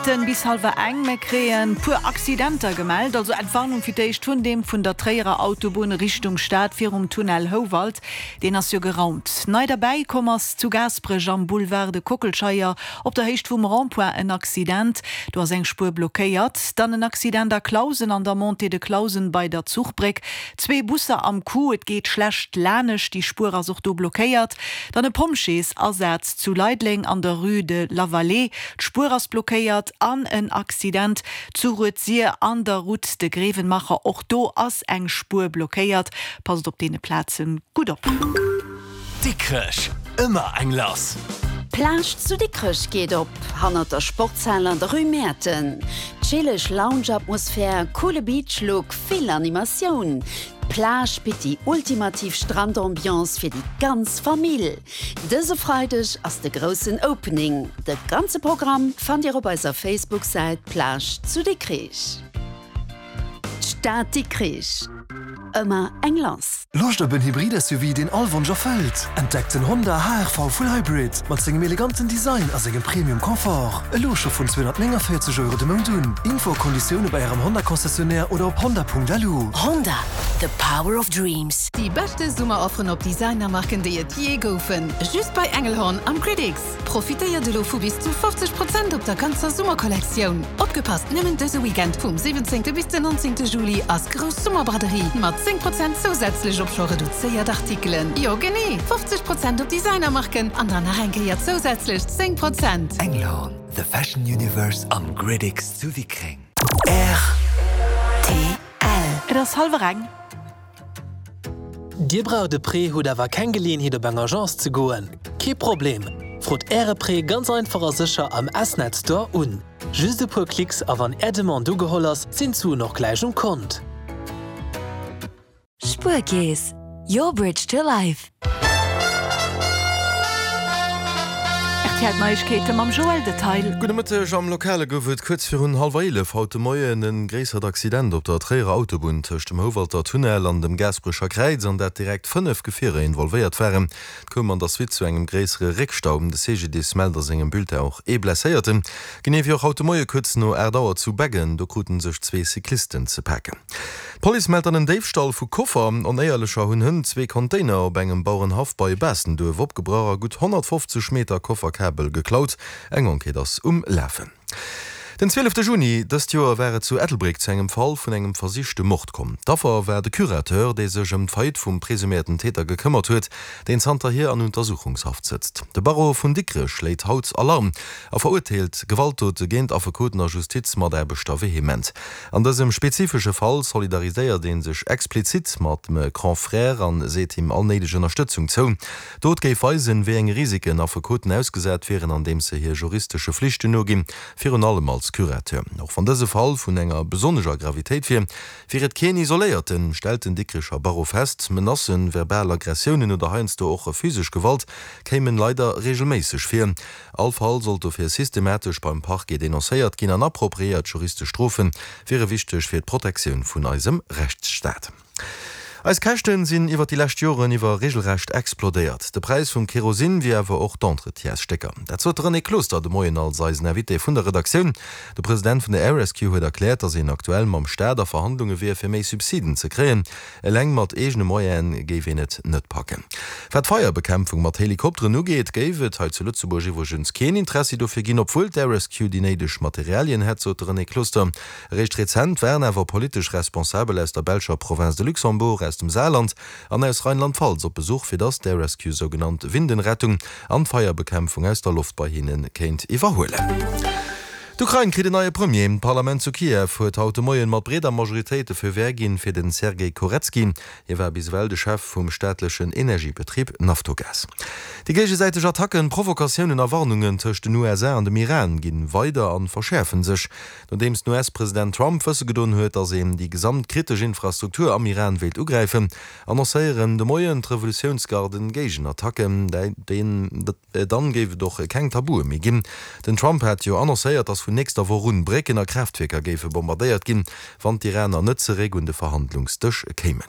Minutten bis hallwer eng. Mir kréien puer Accidenter gemellt. Also Entwarnung fir d'éischt vun deem vun der Tréierer Autobunn Richtung Stad virum Tunnel Houwald. Deen ass jo geraumt. Nei derbäi komm ass zu Gaasperech am Boulevard de Kockelscheier op der Héicht vum Rond-point en Accident. Do ass eng Spuer blockéiert. Dann en Accident a Clausen an der Montée de Clausen bei der Zuchbréck. Zwee Busser am Coup, et geet schlecht lanescht, déi Spuer ass och do blockéiert. Dann e Pompjeesasaz zu Leideleng an der Rue de Lavallée, d'Spuer ass blockéiert. An en Accident zu Rued-Sir an der Route de Grevenmacher, och do ass eng Spuer blockéiert. Passt op deene Plaze gutt op. Dikrech, ëmmer eng lass! D'Plage zu Dikrech geet op, hannert der Sportshal an der Rue Mäerten. Chilleg Lounge-Atmosphär, coole Beach-Look, vill Animatioun. D'Plage bitt déi ultimativ Strandambiance fir déi ganz Famill. Dëse Freideg ass de groussen Opening. De ganze Programm fannt Dir op eiser Facebook-Säit Plage zu Dikrich. D'Stad Dikrich, ëmmer eng lass. Loscht op en Hybrid-SUV, deen all Wonsch erfëllt? Entdeckt den Honda HR-V Full Hybrid mat sengem eleganten Design a sengem Premium Confort. Elo scho vun 249 Euro de Mount un. Info a Konditioune bei Ärem Honda-Concessionnaire oder op honda.lu. Honda, the power of dreams. Déi beschte Summerofferen op Designermarken déi et jee goufen, just bei Engelhorn am Critics. Profitéiert elo vu bis zu 50 Prozent op der ganzer Summerkollektioun. Opgepasst, nëmmen dëse Weekend vum 17 bis den 19 Juli ass grouss Summerbraderie mat 10 Prozent zousätzlech op scho reduzéiert Artikelen. Jo genee, 50 Prozent op Designermarken an dann nach eng Kéier zousätzlech 10 Prozent. Engelhorn, the fashion universe am Gridix zu Wickreng. Rtl. Et ass hallwer eng. Dir braucht e Prêt, hutt awer keng Geleeënheet op eng Agence ze goen? Kee Problem! Frot Äre Prêt ganz einfach a sécher am S-Net Store un. Just e puer Klicks a wann Är Demande ugeholl ass, sinn d'Suen och gläich um Kont. Spuerkeess, your bridge to life. Rtl Neiegkeete mam Joël Detail. Gudde Mëtteg. Am Lokale gouf et kuerz virun hallwer 11 haut de Moien e gréissert Accident op der Tréierer Autobunn tëscht dem Houwalter Tunnel an dem Gaasperecher Kräiz, an dat direkt 5 Gefierer involvéiert waren. Et koum an der Suite zu engem gréissere Réckstau. De CGDIS mellt a sengem Bulletin och ee Blesséierten. Genee wéi och haut de Moie kuerz no 8 Auer zu Beggen. Do krute sech zwee Cyclisten ze paken. D'Police mellt dann en Déifstall vu Koffer. Onéierlecher hunn hënt zwee Container op engem Bauerenhaff bei Baastenduerf opgebrach a gutt 150 Meter Kofferkabel geklaut. Eng Enquête ass um Lafen. Den 12 Juni dëst Joer war et zu Ettelbréck zu engem Fall vun engem versichte Mord komm. D'Affer war de Curateur, dee sech ëm d'Faillite vum presuméierten Täter gekëmmert huet, deen zanterhier an Untersuchungshaft sëtzt. De Barreau vun Dikrech schléit haut Alarm a verurteelt Gewaltdote géint Affekoten a Justizmataarbechter vehement. An dësem spezifesche Fall solidariséiert ee sech explizit mat Me Grand-Frère an seet him all néideg Ënnerstëtzung zou. D'Dot géif weisen, wéi eng Risiken Affekoten ausgesat wieren, andeems se hir juristesche Flichten noginn, virun allem als Curateur. Och wann dëse Fall vun enger besonnescher Gravitéit wier, wier et keen isoléierten, stellt den Dikrecher Barreau fest. Menacen, verbal Aggressiounen oder heiansdo och physesch Gewalt kéimen leider reegelméisseg vir. All Fall sollt dofir systematesch beim Parquet denoncéiert ginn an appropriéiert juristesch Strofe wiere wichteg fir d'Protektioun vun eisem Rechtsstaat. Eis Käschten sinn iwwer déi lescht Joren iwwer regelrecht explodéiert. De Präis vum Kerosin wéi awer och d'Entretiensstécker. Dat sot de René Closter de Moien als eisen Invité vun der Redaktioun. De President vun der Air Rescue huet erkläert, datt een aktuell mam Staat a Verhandlunge wier, fir méi Subsiden ze kréien. Eleng mat eegene Moyene géif een et net packen. Wat d'Feierbekämpfung mat Helikopteren ugeet, géif et hei zu Lëtzebuerg iwwregens keen Interessi dofir ginn, obwuel d'Air Rescue déi néideg Materialien hätt, sot de René Closter. Eréischt rezent waren awer politesch Responsabel aus der belscher Province de Luxembourg, aus dem Saarland an aus Rheinland-Pfalz op Besuch, fir datt d'Air Rescue sougenannt Windenrettung an d'Feierbekämpfung aus der Loft bei hinne kéint iwwerhuelen. D'Ukrain kritt en neie Premier. D'Parlament zu Kiew huet haut de Moien mat breeder Majoritéit de Feu vert ginn fir den Sergej Korecki. Hie war bis ewell de Chef vum staatlechen Energiebetrib Naftogaz. Déi géigesäiteg Attacken, Provokatiounen a Warnungen tëscht den USA an dem Iran ginn weider an verschäerfen sech. Nodeems den US-President Trump wësse gedoen huet, datt een déi gesamt kritesch Infrastruktur am Iran wéilt ugräifen, annoncéieren de Moien d'Revolutiounsgarden Géigenattacken. Dann géif et och keng Tabue méi ginn. Den Trump hat jo annoncéiert, datt vun nächster Woch un Brécken a Kraaftwierker géife bombardéiert ginn, wann d'Iraner net zeréck un de Verhandlungsdësch kéimen.